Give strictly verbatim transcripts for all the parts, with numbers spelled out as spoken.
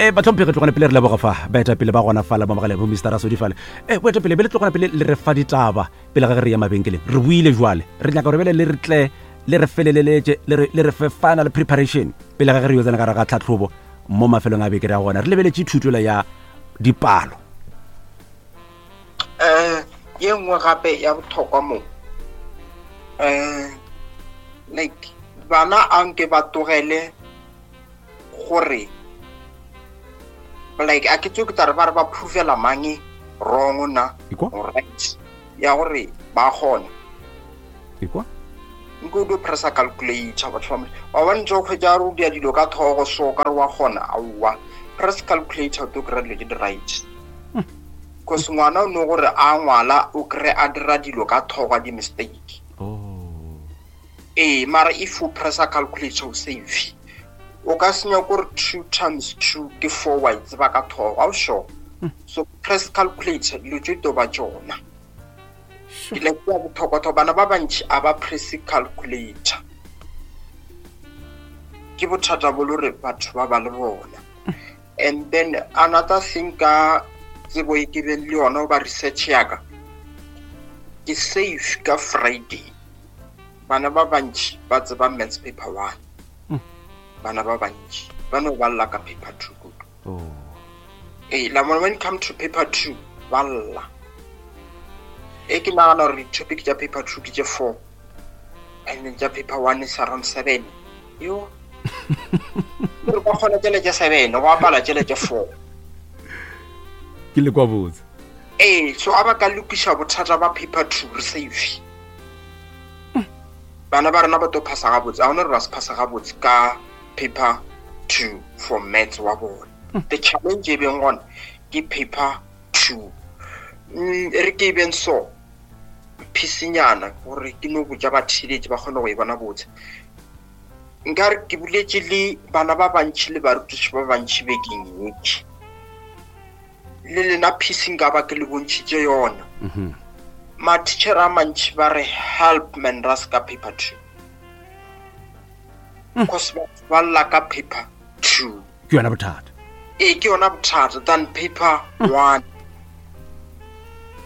E batlhomphegi, tlogane pele re leboga fa baetapele ba gona fala mo mogaleng, bo Mister Rasodi fale. E boetapele be le tlogana pele le re fa ditaba pele ga ge re ya mabenkeleng. Re buile jwale, re nyaka gore bele le re tle le re feleleletše, le re le re fe final preparation pele ga ge re yo tsena ka gare ga tlhatlhobo mo mafelong a beke re ya gona, re lebeletše thutola ya dipalo. um ye nngwe gape ya botlhokwa mo, um like bana a nke ba tlogele gore like a ke tse ke tla re ba re ba provela mang wrong na Ekwa? or right ya gore ba kgona. Ekwa? Nke o dio pressa calculator, batho ba wa bona ntse o kgwetsa re o dia dilo ka thogo, so ka re wa kgona. Aowa, press calculator, o tlo kry-a dilo tse di right, cause ngwana o ne gore a ngwala o kry a dira dilo ka thogo, a di-mistake. Oh. Ee, mara if o pressa calculator o safe. O ka senya kore two times two ke four, wa e tseba ka thogo, ga o sure. So press calculator, dilo tse to ba tsona. Ke like ya botlhokwa-tlhokwa, bana ba bantši a ba press calculator, ke bothata bo le gore batho ba ba le bona. And then another thing, ka tsebo e ke beng le yona goba research yaka, ke safe ka Friday bana ba bantši ba tseba maths paper one. Bana ba bantši ba no ba lla ka paper two kudu. Oh. Ee, la bona, when it come to paper two ba lla. E ke nagana gore di-topic tša paper two ke tše four and then tša paper one is around seven. Yo gore ba kgona tšele tše seven, go apala tšele tše four. Ke le kwa botse. Ee, so a ba ka lokiša bothata ba paper two, re safe. Bana ba rena ba tlo phasa gabotse, a gona gore ba se phasa gabotse ka paper two for maths wa bona. The challenge e beng gona ke paper two. Mm, e re ke e beng so phisinyana gore ke no botša batheeletši ba kgone go e bona botse. Nkare ke boletše le bana ba bantši le barutiši ba bantši bekeng yeke, le lena phisi nka ba ke le bontšhitše yona. Mhm. Matitšhere a mantši ba re help man ras ka paper two, cause batho ba lla ka paper two. Ke yona bothata. Ee, ke yona bothata than paper one.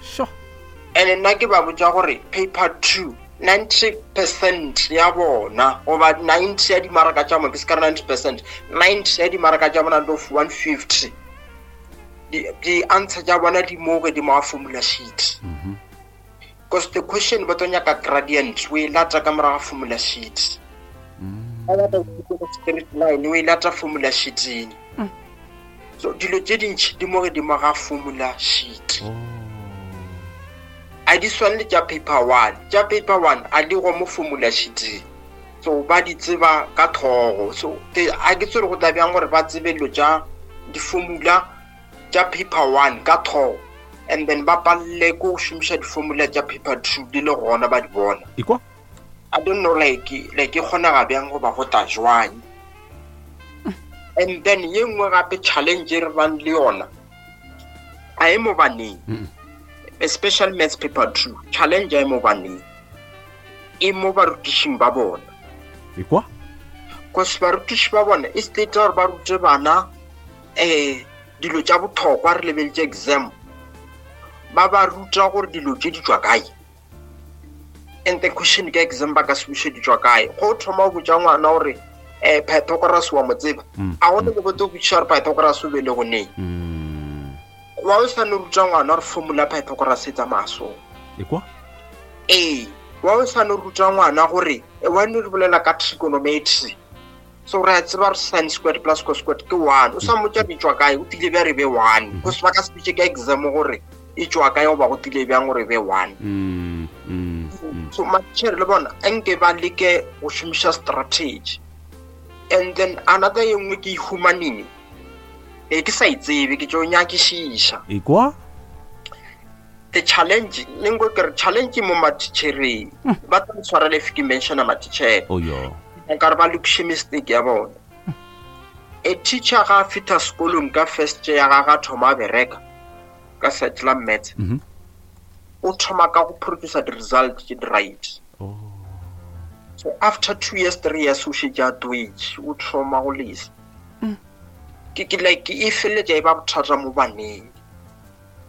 Sure. And nna ke ba botša gore paper two, ninety percent ya bona goba ninety ya dimaraka tša bona, ke se ka re ninety percent, ninety ya dimaraka tša bona out of one fifty, di-answer tša bona di mo godimo ga formula sheet, Mhm. because the question ba tlo nyaka gradient, o e lata ka morago ga formula sheet. Ba batla go straight line, o e lata formula sheeting. So dilo tše dintšhi di mo godimo ga formula sheet. Oh. A di swane le tša paper one. Tša paper one a di go mo formula sheeting, so ba di tseba ka thogo. So ke- a ke tsere go tla bjang gore ba tsebe dilo tša di-formula tša paper one ka thogo and then ba palele ko go šomiša di-formula tša paper two di le gona ba di bona. Ekwa? I don't know like like e kgonega bjang goba go tla jwang. And then ye nngwe gape challenge e re bang le yona a e mo baneng, Mm-mm. especially maths paper two, challenge a e mo baneng, e mo barutišing ba bona. Ekwa? Cause barutiši ba bona e state gore ba rute bana um dilo tša botlhokwa, re lebeletše exam, ba ba ruta gore dilo tše di tšwa kae, and the question ka exam ba ka se buše di tšwa kae. Go thoma go botša ngwana gore um Pythagoras wa mo tseba, Mm, a gone le botse go botšiša gore Pythagoras o bele go neng. Mm. Wa o sa no ruta ngwana gore formula Pythagoras e tsamaya so. Ekwa? Ee, wa o sa no ruta ngwana gore e wa no re bolela ka trigonometry, so re a tseba gore sin squared plus cos squared ke one, o sa mmotša di tšwa kae, o tlile bja re be one, cause ba ka se bitše ka exam gore e tšwa kae goba go tlile bjang gore e be one. Mm, mm, mm. So matšhere le bona a nke ba leke go šomiša strategy. And then another ye nngwe ke e humaneng e ke sa e tsebe, ke tšo nyakišiša. Ekwa? The challenge le nko ke re challenge mo matitšhereng, ba tla ntshwarela if ke mentiona matitšhere. Oh yo. Nkare ba lokiše mistake ya bona. A teacher ga a fitha sekolong ka first year ya gagwe, a thoma a bereka ka side la maths, Mhm. o thoma ka go producer di-result tše di right. Oh. So after two years, three years, o šetše a twetše, o thoma go lesa. Ke ke like e feleletša e ba bothata mo baneng.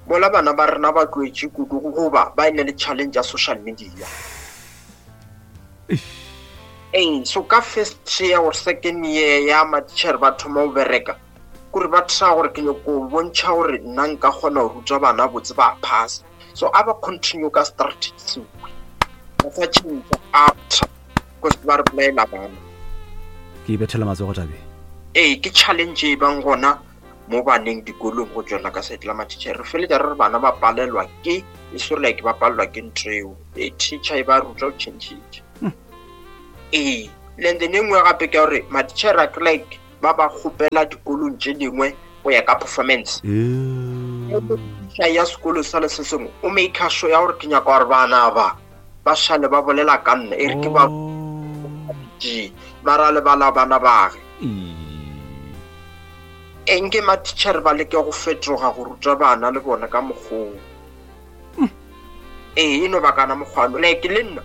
Mola bana ba rena ba tloetše kudu goba ba ene le challenge ya social media. Ee, so ka first year or second year ya matitšhere ba thoma go bereka, kore ba try gore ke nyako bontšha gore nna nka kgona go ruta bana botse ba phasa. So a ba continue ka strategy seo, ba sa change after because ba re bolaela bana. Ke e bethela matsogo tabe. Ee, ke challenge e bang gona mo baneng dikolong go tswela ka side la matitšhere. Re feletša re re bana ba palelwa ke e se like ba palelwa ke ntho eo, e teacher e ba ruta go change. Ee, and then e nngwe gape ke gore matitšhere a ke like ba ba kgopela dikolong tše dingwe go ya ka performance. Teacher ya sekolo sa le se sengwe o make sure ya gore ke nyaka gore bana ba ba šale ba bolela ka nna, e re ke ba G mara lebala bana bage. Eng ke matitšhere ba leke go fetoga go ruta bana le bona ka mokgwa. Ee, e no ba kana mokgwano. Like le nna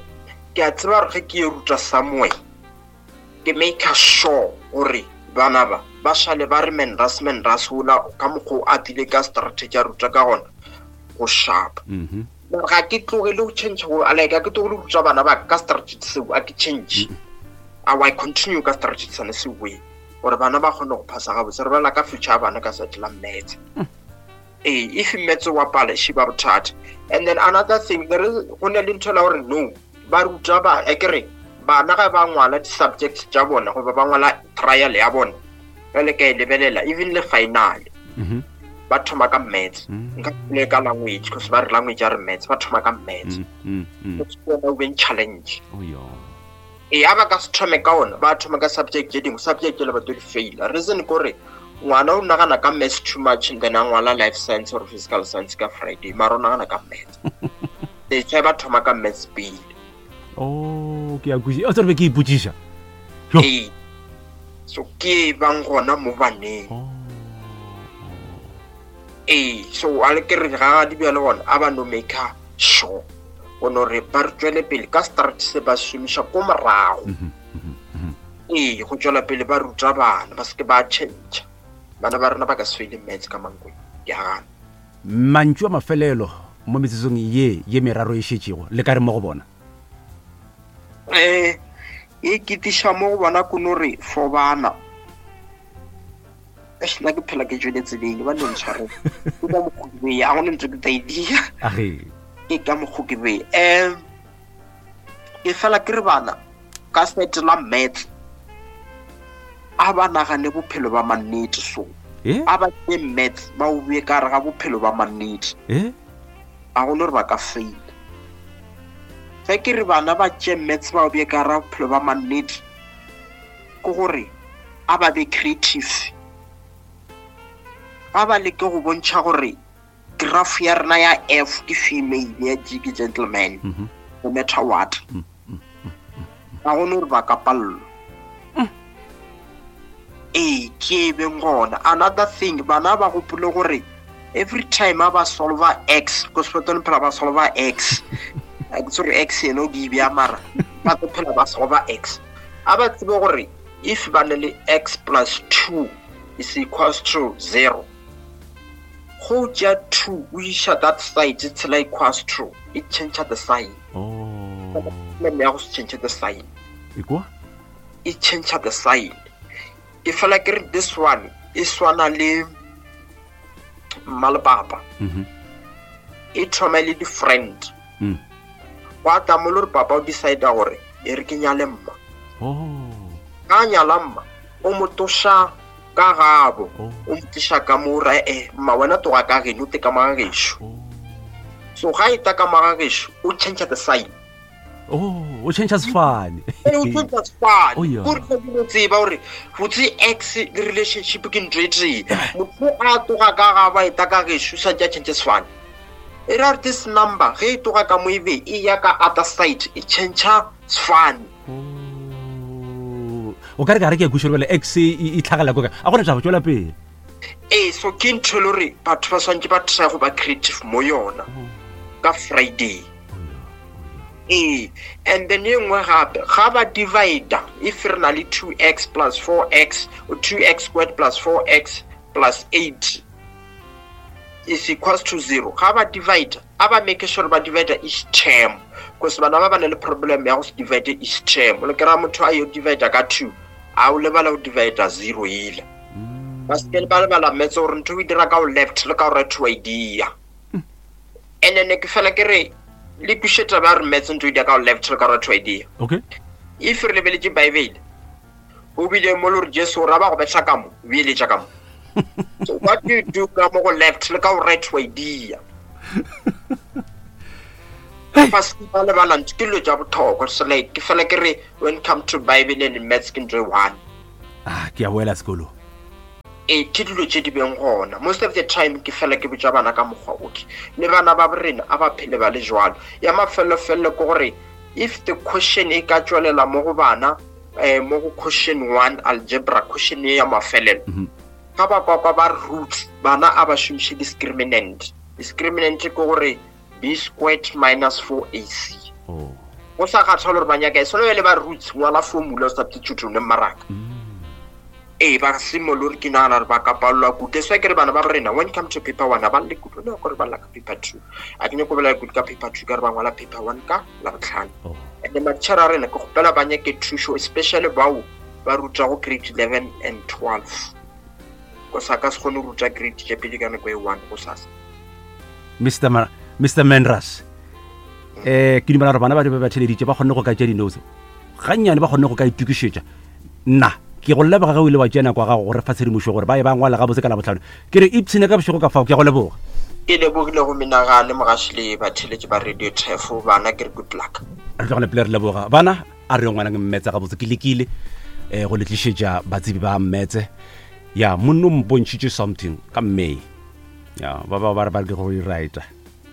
ke a tseba gore ge ke e ruta somewhere, ke make sure gore bana ba ba šale ba re menras menras ola ka mokgwa a tlile ka strategy a ruta ka gona go sharp. Mara ga ke tlogele go change go like ga ke tlogele go ruta bana ba ka strategy seo, a ke change. A I continue ka strategy sane seo gore bana ba kgone go phasa gabotse. Re bolela ka future ya bana ka side la maths. Ee, if maths wa pala she ba bothata. And then another thing, there is go na le ntho la gore no ba ruta ba e kere bana ga ba ngwala di-subjects tša bona goba ba ngwala trial ya bona, bjale ka e lebelela even le final ba thoma ka maths. Nka le ka language because ba re language ya re maths, ba thoma ka maths. Ke o beng challenge. Oh yo. E a ba ka se thome ka ona, ba thoma ka subject tše dingwe, subject le ba tlo di faila. Reason ke gore ngwana o nagana ka maths too much and then a ngwala life science or physical science ka Friday, mara o nagana ka maths. That's why ba thoma ka maths pele. Oh, ke a kwešiša. O tsebe ke ipotšiša. Ee. So ke bang gona mo baneng. Ee, so a le ke re ga di bjale gona a ba no make sure go no re ba re tswele pele ka strategy se ba šomiša ko morago. Ee, go tswela pele ba ruta bana ba seke ba change. Bana ba rena ba ka se faile maths ka Mankweng, ke a gana. Mantšu a mafelelo mo metsotsong ye ye meraro e šetšego le ka re mo go bona? Eh, e ketiša mo go bona ko no re for bana. Eish, nna ke phela ke tšwele tseleng, ba no ntshware. Ke ka mokgwa ke bea, a gona ntho ke tla e dia. Age. Ke ka mokgwa ke bea. Eh, ke fela ke re bana ka side la maths a ba nagane bophelo ba mannete so. Eh? A ba tšee maths ba o bee ka gare ga bophelo ba mannete. Eh? A gona gore ba ka faila. Ge ke re bana ba tšee maths ba o bee ka gare ga bophelo ba mannete, ke gore a ba be creative. Ba ba leke go bontšha gore graph ya rena ya F ke female, ya G ke gentleman, Mm-hmm. no matter what. Ga gona gore ba ka pallwa. Ee, ke e beng gona. Another thing, bana ba gopole gore every time a ba solva X, ko sepetlele phela ba solva X. A ke tsore X eno ke e bea mara, ba tlo phela ba solva X. A ba tsebe gore if ba ne le X plus two is equals to zero, go tšea two o iša that side tshela equals to, e change the sign. Oh. Problem ya go se change the sign. E kwa? E change the sign. Ke fela ke re this one e swana le mma le papa. Mm-hmm. E thoma le di-friend. Mm. Wa tla mo le gore papa o decide gore e re ke nyale mma. Oh. Ka nyala mma, o mo toša ka gabo, Oh. o mo tliša ka mo ra, eh, mma wena toga ka geno, o te ka mo ga gešo. Oh. So ga e ta ka mo ga gešo, o change the sign. Oh, o change sefane. Ee, o change sefane. Oh, yeah. Gore ke no tseba gore botse ex le relationship ke ntho e tee. Motho a toga ka ga ba e ta ka gešo, sa tša change sefane. E ra gore this number ge e toga ka mo e be e ya ka other side, e change sefane. Oh. O ka re ka re ke a kwešiša gore bjale X e, e tlhagela ko kae. A gona taba, tšwela pele. Ee, so ke ntho e le gore batho ba swantse ba try go ba creative mo yona ka Friday. Ee, and then e nngwe gape, ga ba divide, if re na le two x plus four x, or two x squared plus four x plus eight is equals to zero. Ga ba divide, a ba make sure ba divide each term, because bana ba ba na le problem ya go se divide each term. Le kry-a motho a yo divide ka two, a o lebala go divide zero ile. Ba seke ba lebala maths gore ntho o e dira ka go left le ka go right wa e dia. And then ke fela ke re le kweše taba ya gore maths ntho o e dia ka go left le ka go right wa e dia. Okay. If re lebeletše Bible, o bile mo le gore Jesu o ra ba go betha ka mo, o beeletša ka mo. So what do you do ka mo go left le ka go right wa e dia? Ba se ba lebala ntho ke dilo tša bohlokwa. So like ke fela ke re when come to Bible and maths ke ntho e one. Ah, ke a boela sekolong. Ee, ke dilo tše di beng gona. Most of the time ke fela ke botša bana ka mokgwa okay. Le bana ba borena a ba phele ba le jwalo. Ya mafelofelelo ke gore if the question e ka tšwelela mo go bana, eh, mo go question one algebra question ye ya mafelelo, ga ba kwa kwa ba roots, bana a ba šomiše discriminant. Discriminant ke gore b squared minus four a c. Oh. Go sa kgathale gore ba nyaka e swana le ba roots, ngwala formula o substitute o ne mmaraka. Ee, ba simolole ke nagana gore ba ka palelwa kudu. That's why ke re bana ba rena when come to paper one, ba lle kudu. No, gore ba lla ka paper two. A ke nyako bolela kudu ka paper two, ka re ba ngwala paper one ka Labohlano. Oh. And then matitjhere a rena ke kgopela ba nyake thušo, especially bao ba rutago grade eleven and twelve. Ko sa ka se kgone go ruta grade tše pedi ka nako e one go sasa. Mister Ma-, Mister Menras, eh, ke dumela gore bana ba ba theleditše ba kgonne go ka tšea di-notes. Gannyane ba kgonne go ka itokišetša. Nna ke go leboga ge o ile wa tšea nako ya gago gore fa tshedimošo gore ba ye ba ngwala gabotse ka Labohlano. Ke re ipshine ka bošego ka fao, ke a go leboga. Ke lebogile go menagane mogaši le batheletši ba Radio Turf, bana ke re good luck. Re tlogele pele re leboga. Bana, a re yo ngwanang mmetse gabotse, ke lekile, eh, go le tlišetša batsebi ba mmetse. Ya, monno o mpontšhitše something ka May. Ya, ba ba ba re ba re ke go e writer.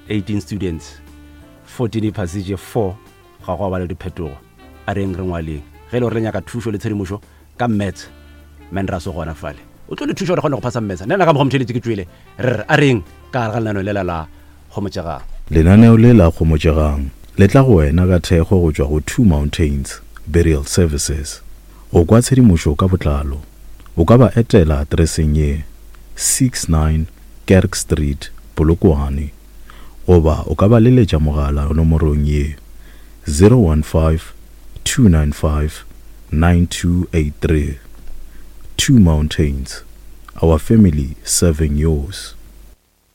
eighteen students, fourteen e phasitše, four ga go ba le diphetogo. A reng re ngwaleng. Ge e le gore le nyaka thušo le tshedimošo ka maths, Menras o gona fale. O tlo le thuša gore kgone go phasa maths. Nna ka mokgwa motheletši ke tšwele, re re a reng ka gare ga lenaneo lela la Kgomotšegang. Lenaneo le la Kgomotšegang le tla go wena ka thekgo go tšwa go Two Mountains Burial Services. Go kwa tshedimošo ka botlalo, o ka ba etela atereseng ye six nine Kerk Street, Polokwane, goba o ka ba leletša mogala nomorong ye zero one five, two nine five, nine two eight three. Two Mountains, our family serving yours.